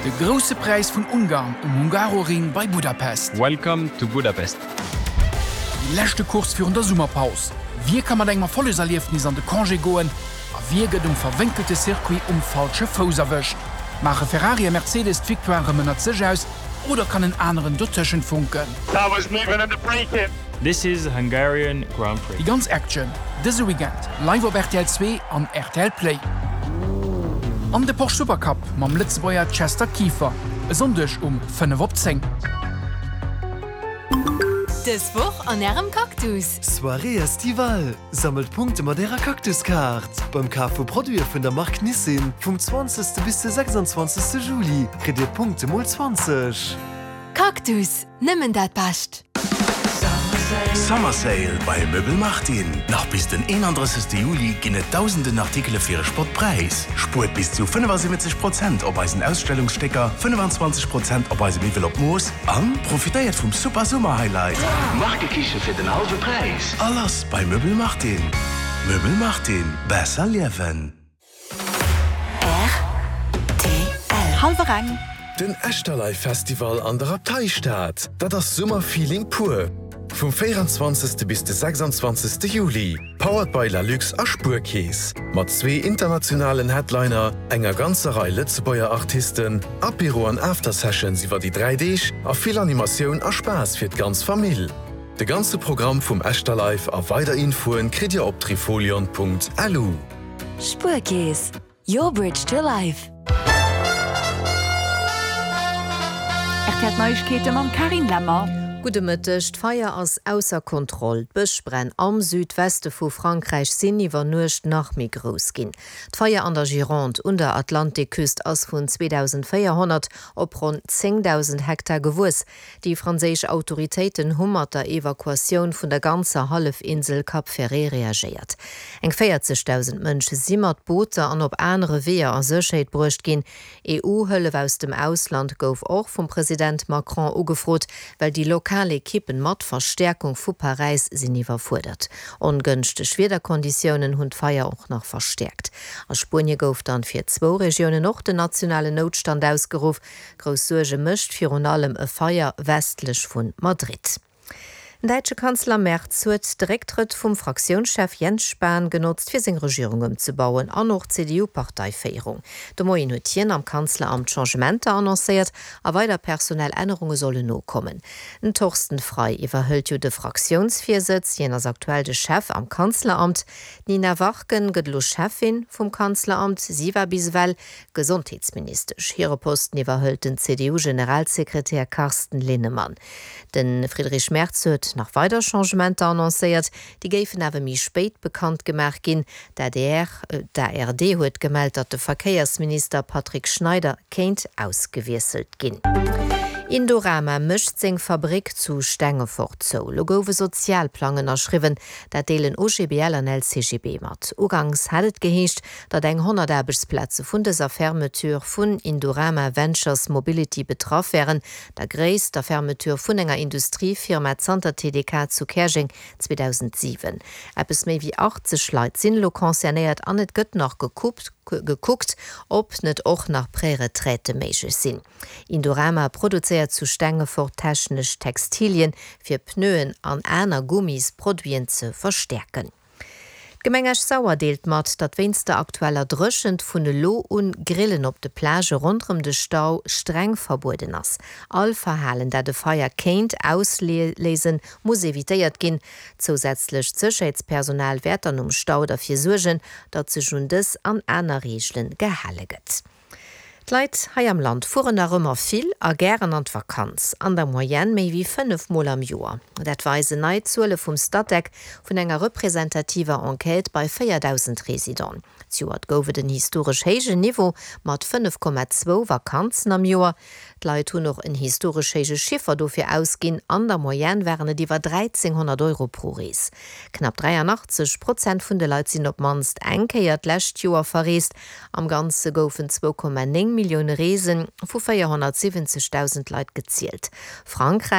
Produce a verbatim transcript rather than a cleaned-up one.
De Grousse Präis vun Ungarn um Hungaroring bei Budapest. Welcome to Budapest. Déi leschte Course virun der Summerpaus. Wie ka mat engem Erfollegserliefnis an de Congé goen a wie gëtt um verwénkelte Circuit um falsche Fouss erwëscht? Maache Ferrari a Mercedes d'Victoire erëm ënnert sech aus oder kann en aneren dotëschent funken? That was moving and braking. This is Hungarian Grand Prix. Déi ganz Action dëse Weekend live op rtl Zwee an rtl Play. An de Porsche Supercup mam Lëtzebuerger Chester Kieffer e Sonndeg um fënnef op zéng. Dës Woch an Ärem Cactus. Soirée estivale, Sammelt Punkte mat Ärer Cactus-Kaart! Beim Kaf vu Produite vun der Mark Nissin vum zwanzegste bis de sechsanzwanzegste Juli kritt Dir Punkte mol zwanzeg. Cactus, nëmmen dat Bescht! Summer Sale bei Möbel Martin! Nach bis den eenandrëssegste Juli ginn et dausenden Artikele fir e Spottpräis. Spuert bis zu fënnefasiwwenzeg Prozent op eisen Ausstellungsstécker, fënnefanzwanzeg Prozent op eise Miwwel op Mooss an profitéiert vum super Summer Highlight, Markekiche fir den hallwe Präis! A lass bei Möbel Martin! Möbel Martin, besser liewen! Rtl. Hallwer eng. Den Echterlive Festival an der Abteistad, dat ass Summerfeeling pur! Vum véieranzwanzegste bis de sechsanzwanzegste Juli, powered by Lalux a Spuerkeess, mat zwee internationalen Headliner, enger ganzer Rei Lëtzebuerger Artisten, Apéro an After-Sessions iwwer déi dräi Deeg a vill Animatioun a Spaass fir d'ganz Famill. De ganze Programm vum Echterlive a weider Infoen kritt Dir op trifolion.lu. Spuerkeess, your bridge to life. Rtl Neiegkeete mam Carine Lemmer. Gudde Mëtteg, D'Feier ass ausser Kontroll. D'Bëschbränn am Südweste vu Frankräich sinn iwwer Nuecht nach méi grouss ginn. D'Feier an der Gironde un der Atlantikküst ass vun zweedausendvéierhonnert op ronn zéngdausend Hektar gewuess. Déi franséisch Autoritéiten hu mat der Evakuatioun vun der ganzer Hallefinsel Cap Ferret reagéiert. Eng véierzegdausend Mënsche si mat Booter an op anere Weeër a Sécherheet bruecht ginn. EU-Hëllef aus dem Ausland gouf och vum President Macron ugefrot, well déi lokal Ekippen mat Verstäerkung vu Paräis sinn iwwerfuerdert. Ongënschteg Wiederkonditiounen hunn d'Feier och nach verstäerkt. A Spuenie gouf dann fir zwou Regiounen och den nationalen Noutstand ausgeruff. Grouss Suerge mécht virun allem e Feier westlech vu Madrid. Den däitsche Kanzler Merz huet de Récktrëtt vum Fraktiounschef Jens Spahn genotzt, fir seng Regierung ëmzebauen an och d'CDU-Parteiféierung. De Moien huet hien am Kanzleramt Changementer annoncéiert a weider personell Ännerunge sollen nokommen. Den Thorsten Frei iwwerhëlt jo de Fraktiounsvirsëtz, hien ass aktuell de Chef am Kanzleramt. D'Nina Warken gëtt elo Cheffin vum Kanzleramt, si war bis ewell Gesondheetsministesch. Hire Posten iwwerhëlt den C D U-Generalsekretär Carsten Linnemann. De Friedrich Merz huet nach weider Changementer annoncéiert, déi géifen awer méi spéit bekannt gemaach ginn. D'A D R, d'A R D huet gemellt, datt de Verkéiersminister Patrick Schneider kéint ausgewiesselt ginn. Indorama mécht seng Fabrick zu Stengefort zou. Lo gouf e Sozialplang ënnerschriwwen, dat deelen O G B L an L C G B mat. Uganks hat et geheescht, datt eng honnert Aarbechtsplaze vun dëser Fermeture vun Indorama Ventures Mobility betraff wären, der gréisster Fermeture vun enger Industriefirma zanter T D K zu Käerjeng zweedausentsiwen. Eppes méi wéi achtzeg Leit sinn elo concernéiert an et gëtt nach gekuckt, gekuckt, ob net och nach Préretraite méiglech sinn. Indorama produzéiert zu Stengefort technesch Textilien fir Pneuen an aner Gummisproduiten ze verstäerken. D'Gemeng Esch-Sauer deelt mat, datt wéinst der aktueller Dréchent vun elo un Grillen op de Plagë ronderëm de Stau streng verbueden ass. All Verhalen, dat e Feier kéint ausléisen, muss evitéiert ginn. Zousätzlecht Sécherheetspersonal wäert dann um Stau derfir suergen, datt sech un dës an aner Reegele gehale gëtt. D'Leit hei am Land fueren nach ëmmer vill a gären an d'Vakanz, an der Moyenne méi wéi fënnef Mol am Joer. Dat weisen nei Zuele vum Statec vun enger representativer Enquête bei véierdausend Residenten. Zejoert gouf et en historesch héijen Niveau mat fënnef Komma zwou Vakanzen am Joer. D'Leit hunn och en historesch héije Chiffer dofir ausginn, an der Moyenne waren et iwwer dräizénghonnert Euro pro Rees. Knapp dräianachtzeg Prozent vun de Leit sinn op d'mannst eng Kéier d'lescht Joer verreest. Am Ganze goufen zwou Komma néng Millioune Reese vu véierhonnertsiwwenzegdausend Leit gezielt. Frankräich.